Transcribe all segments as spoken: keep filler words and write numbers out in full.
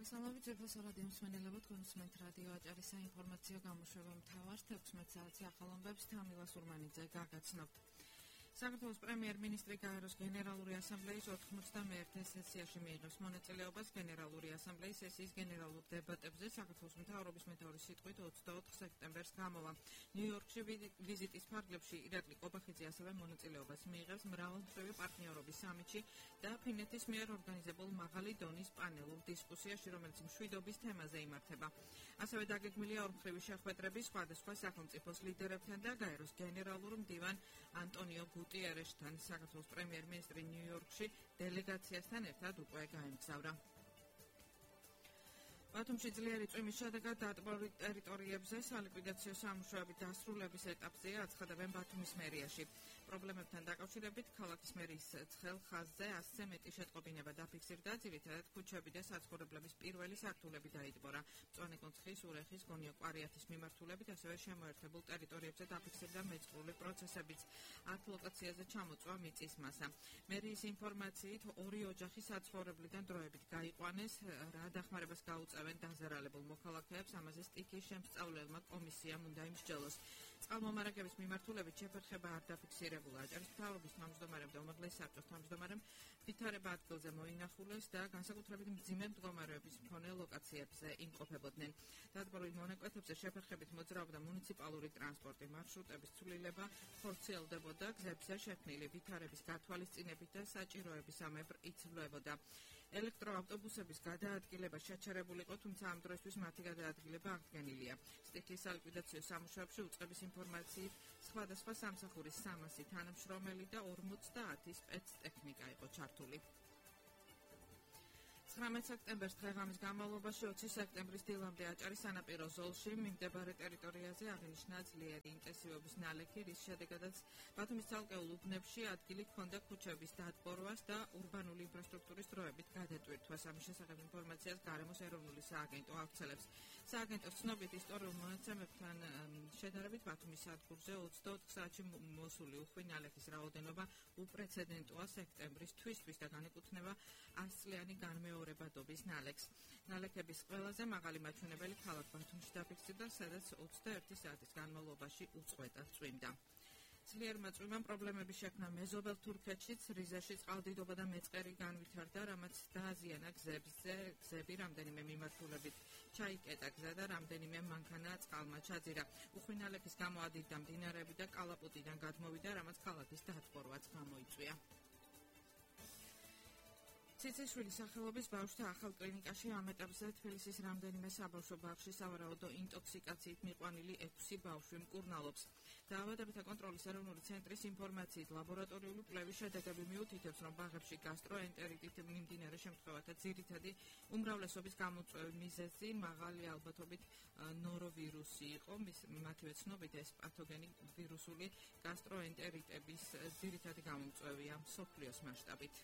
მოგესალმებით ზეფას რადიო მსმენელებო, თქვენ უსმენთ რადიო აჭარის საინფორმაციო გამოშვება მთავარ თექვსმეტ საათზე ახალომბებს თამილა სურმანიძე გაგაცნობთ. საქართველოს პრემიერ-მინისტრი გაეროს გენერალური ასამბლეის ოთხმოცდამეერთე სესიაში მიიღებს მონაწილეობას გენერალური ასამბლეის სესიის გენერალურ დებატებზე საქართველოს მთავრობის მეთაურის სიტყვით ოცდაოთხ სექტემბერს გამოვა. ნიუ-იორკში ვიზიტის ფარგლებში ირაკლი ყობახიძე ასევე მონაწილეობას მიიღებს მრავალმხრივი პარტნიორობის სამიტში და ფინეთის მიერ ორგანიზებულ მაღალი დონის პანელურ დისკუსიაში, რომელიც მშვიდობის თემაზე იმართება. ასევე დაგეგმილია ორმხრივი შეხვედრები სხვადასხვა სახელმწიფოს ლიდერებთან და გაეროს გენერალურ მდივან ანტონიო გუტიერესთან. საქართველოს პრემიერ-მინისტრი ნიუ-იორკში დელეგაციასთან ერთად უკვე გაემგზავრა. ბათუმში ძლიერი წვიმის შედეგად დატბორილ ტერიტორიებზე სალიკვიდაციო სამუშაოების დასრულების ეტაპზეა აცხადებენ ბათუმის მერიაში. პრობლემებთან დაკავშირებით ქალაქის მერის ცხელ ხაზზე ასზე მეტი შეტყობინება დაფიქსირდა, ძირითადად ქუჩები და საცხოვრებლების პირველი სართულები დაიტბორა. მწვანე კონცხის, ურეხის, გონიო-კვარიათის მიმართულებით, ასევე შემოერთებულ ტერიტორიებზე დაფიქსირდა მეწყრული პროცესებიც. ათ ლოკაციაზე ჩამოწვა მიწის მასა. მერიის ინფორმაციით ორი ოჯახი საცხოვრებლიდან დროებით გაიყვანეს, რა დახმარებას გაუწევენ დაზარალებულ მოქალაქეებს, ამაზე სტიქის შემსწავლელმა კომისიამ უნდა იმსჯელოს. წყალმომარაგების მიმართულებით შეფერხება არ დაფიქსირებულა. აჭარის მთავრობის თავმჯდომარემ და უმაღლეს საბჭოს თავმჯდომარემ ვითარება ადგილზე მოინახულეს და განსაკუთრებით მძიმე მდგომარეობის მქონე ლოკაციებზე იმყოფებოდნენ. დატბორილ მონაკვეთებზე შეფერხებით მოძრაობდა მუნიციპალური ტრანსპორტი, მარშრუტების ცვლილება ხორციელდებოდა, გზებზე შექმნილი ვითარების გათვალისწინებით და საჭიროებისამებრ იცვლებოდა. ელექტროავტობუსების გადაადგილება შეჩერებული იყო, თუმცა ამ დროისთვის მათი გადაადგილება აღდგენილია. სტიქის სალიკვიდაციო სამუშაოებში უწყების ინფორმაციით სხვადასხვა სამსახურის სამასი თანამშრომელი და ორმოცდაათი სპეცტექნიკა იყო ჩართული. ცხრამეტ სექტემბერს დღეღამის განმავლობაში ოცი სექტემბრის დილამდე აჭარის სანაპირო ზოლში მიმდებარე ტერიტორიაზე აღინიშნა ძლიერი ინტენსივობის ნალექი, რის შედეგადაც ბათუმის ცალკეულ უბნებში ადგილი ჰქონდა ქუჩების დატბორვას და ურბანული ინფრასტრუქტურის დროებით გადატვირთვას. ამის შესახებ ინფორმაციას გარემოს ეროვნული სააგენტო ავრცელებს. სააგენტოს ცნობით, ისტორიულ მონაცემებთან შედარებით ბათუმის სადგურზე ოცდაოთხ საათში მოსული უხვი ნალექის რაოდენობა უპრეცედენტოა სექტემბრის თვისთვის და განეკუთვნება ასწლიანი განმეორებადობის ნალექს. ნალექების ყველაზე მაღალი მაჩვენებელი ქალაქ ბათუმში დაფიქსირდა, სადაც ოცდაერთი საათის განმავლობაში უწყვეტად წვიმდა. ძლიერმა წვიმამ პრობლემები შექმნა მეზობელ თურქეთშიც, რიზაში წყალდიდობა და მეწყერი განვითარდა, რამაც დააზიანა გზებზე, გზები რამდენიმე მიმართულებით ჩაიკეტა გზა და რამდენიმე მანქანა წყალმა ჩაძირა. უხვი ნალექის გამო ადირდა მდინარეები და კალაპოტიდან გადმოვიდა, რამაც ქალაქის დატბორვაც გამოიწვია. ციციშვილის სახელობის ბავშვთა ახალ კლინიკაში ამ ეტაპზე თბილისის რამდენიმე საბავშვო ბაღში სავარაუდო ინტოქსიკაციით მიყვანილი ექვსი ბავშვი მკურნალობს. დაავადებათა კონტროლის ეროვნული ცენტრის ინფორმაციით ლაბორატორიული კვლევის შედეგები მიუთითებს, რომ ბაღებში გასტროენტერიტით მიმდინარე შემთხვევათა ძირითადი უმრავლესობის გამოწვევის მიზეზი მაღალი ალბათობით ნოროვირუსი იყო. მათივე ცნობით ეს პათოგენი ვირუსული გასტროენტერიტების ძირითადი გამომწვევია მსოფლიოს მასშტაბით.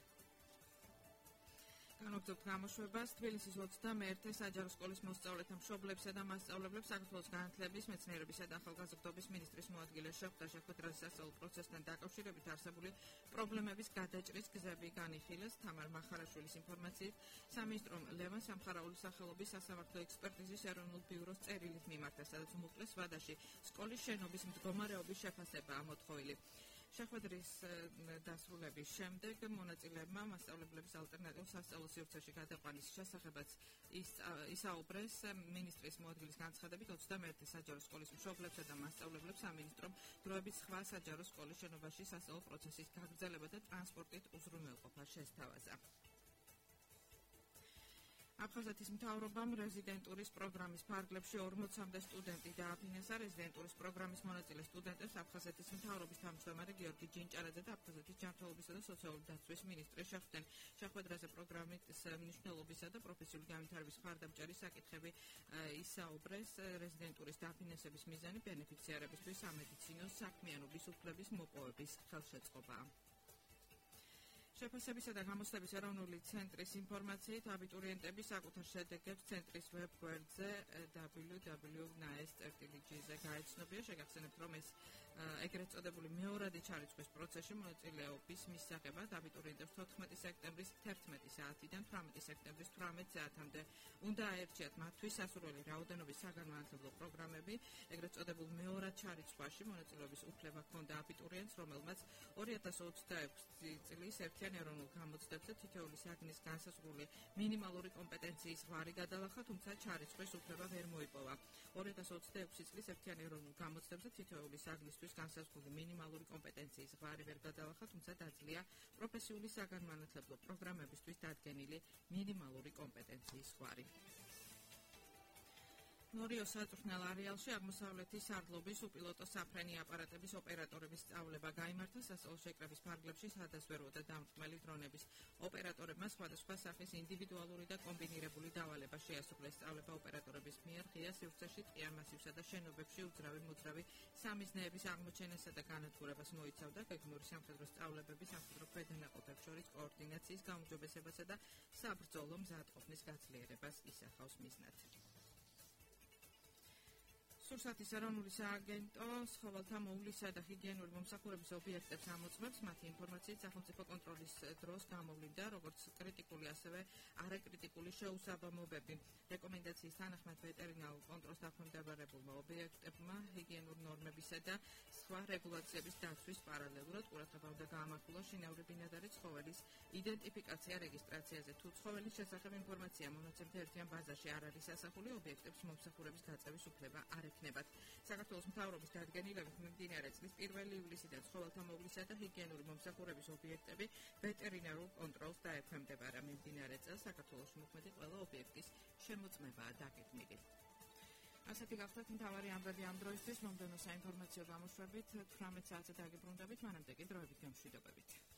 განვაგრძობთ გამოშვებას. თბილისის ოცდამეერთე საჯარო სკოლის მოსწავლეთა მშობლებსა და მასწავლებლებს საქართველოს განათლების, მეცნიერებისა და ახალგაზრდობის მინისტრის მოადგილე შეხვდა შეხვედრაზე სასწავლო პროცესთან დაკავშირებით არსებული პრობლემების გადაჭრის გზები განიხილეს. თამარ მახარაშვილის ინფორმაციით, სამინისტრომ ლევან სამხარაულის სახელობის სასამართლო ექსპერტიზის ეროვნულ ბიუროს წერილით მიმართა, სადაც უმუხლეს ვადაში სკოლის შენობის მდგომარეობის შეფასებაა მოთხოვილი. შეხვედრის დასრულების შემდეგ მონაწილეებმა მასწავლებლების ალტერნატიულ სასწავლო სივრცეში გადაყვანის შესახებაც ისაუბრეს. მინისტრის მოადგილის განცხადებით, ოცდამეერთე საჯარო სკოლის მშობლებსა და მასწავლებლებს სამინისტრომ დროებით სხვა საჯარო სკოლის შენობაში სასწავლო პროცესის გაგრძელება და ტრანსპორტით უზრუნველყოფა შესთავაზა. აფხაზეთის მთავრობამ რეზიდენტურის პროგრამის ფარგლებში ორმოცამდე სტუდენტი დააფინანსა. რეზიდენტურის პროგრამის მონაწილე სტუდენტებს აფხაზეთის მთავრობის თავმჯდომარე გიორგი ჯინჭარაძე და აფხაზეთის ჯანმრთელობისა და სოციალური დაცვის მინისტრი შეხვდნენ. შეხვედრაზე პროგრამის მნიშვნელობისა და პროფესიული განვითარების მხარდამჭერი საკითხები ისაუბრეს. რეზიდენტურის დაფინანსების მიზანი ბენეფიციარებისთვის სამედიცინო საქმიანობის უფლების მოპოვების ხელშეწყობაა. შეფასებისა და გამოცდების ეროვნული ცენტრის ინფორმაციით აბიტურიენტები საკუთარ შედეგებს ცენტრის ვებ-გვერდზე დაბლიუ დაბლიუ დაბლიუ წერტილი ნაეს წერტილი ჯი-ზე გაეცნობიან. შეგახსენებთ, რომ ეს ეგრეთ წოდებული მეორადი ჩარიცხვის პროცესში მონაწილეობის მისაღებად აბიტურიენტებს თოთხმეტი სექტემბრის თერთმეტი საათიდან თვრამეტი სექტემბრის თვრამეტ საათამდე უნდა აერჩიათ მათთვის სასურველი რაოდენობის საგანმანათლებლო პროგრამები. ეგრეთ წოდებულ მეორად ჩარიცხვაში მონაწილეობის უფლება ჰქონდა აბიტურიენტს, რომელმაც ორი ათას ოცდაექვსი წლის ერთიან ეროვნულ გამოცდებზე თითოეული საგნის განსაზღვრული მინიმალური კომპეტენციის ღვარი გადალახა, თუმცა ჩარიცხვის უფლება ვერ მოიპოვა. ორი ათას ოცდაექვსი წლის ერთიან ეროვნულ გამოცდებზე თითოეული საგნისთვის განსაზღვრული მინიმალური კომპეტენციის ღვარი ვერ გადალახა, თუმცა დაძლია პროფესიული საგანმანათლებლო პროგრამებისთვის დადგენილი მინიმალური კომპეტენციის ღვარი. ნორიო საწვრთნელ არეალში აღმოსავლეთის სარდლობის უპილოტო საფრენი აპარატების ოპერატორების სწავლება გაიმართა სასწავლო შეკრების ფარგლებში, სადაც ვეროდა დამრტმელი დრონების ოპერატორებმა სხვადასხვა სახის ინდივიდუალური და კომბინირებული დავალება შეასრულეს. სწავლება ოპერატორების მიერ ღია სივრცეში, ტყიან მასივსა და შენობებში უძრავი მოძრავი სამიზნეების აღმოჩენასა და განადგურებას მოიცავდა. გეგმიური სამხედრო სწავლებები სამხედრო ქვედანაყოფებს შორის კოორდინაციის გაუმჯობესებასა და საბრძოლო მზადყოფნის გაცლიერებას ისახავს მიზნად. სურსათის ეროვნული სააგენტო ცხოველთა მოვლისა და ჰიგიენური მომსახურების ობიექტებს ამოწმებს. მათი ინფორმაციით სახელმწიფო კონტროლის დროს გამოვლინდა როგორც კრიტიკული, ასევე არაკრიტიკული შეუსაბამობები. რეკომენდაციის თანახმად ვეტერინარულ კონტროლს დაქვემდებარებულმა ობიექტებმა ჰიგიენურ ნორმებისა და სხვა რეგულაციების დაცვის პარალელურად ყურადღება უნდა გაამახვილოს შინაური ბინადარი ცხოველის იდენტიფიკაცია რეგისტრაციაზე. თუ ცხოველის შესახებ ინფორმაცია მონაცემთა ერთიან ბაზაში არ არის ასახული, ობიექტებს მომსახურების გაწევის უფლება არ ექნებათ. საქართველოს მთავრობის დადგენილებით მიმდინარე წლის პირველი ივლისიდან ცხოველთა მოვლისა და ჰიგიენური მომსახურების ობიექტები ვეტერინარულ კონტროლს დაექვემდებარა. მიმდინარე წელს საქართველოში მოქმედი ყველა ობიექტის შემოწმებაა დაგეგმილი. ასეთი გახლავთ მთავარი ამბები ამ დროისთვის. მომდევნო საინფორმაციო გამოშვებით თვრამეტ საათზე დაგიბრუნდებით, მანამდე კი დროებით გამშვიდობებით.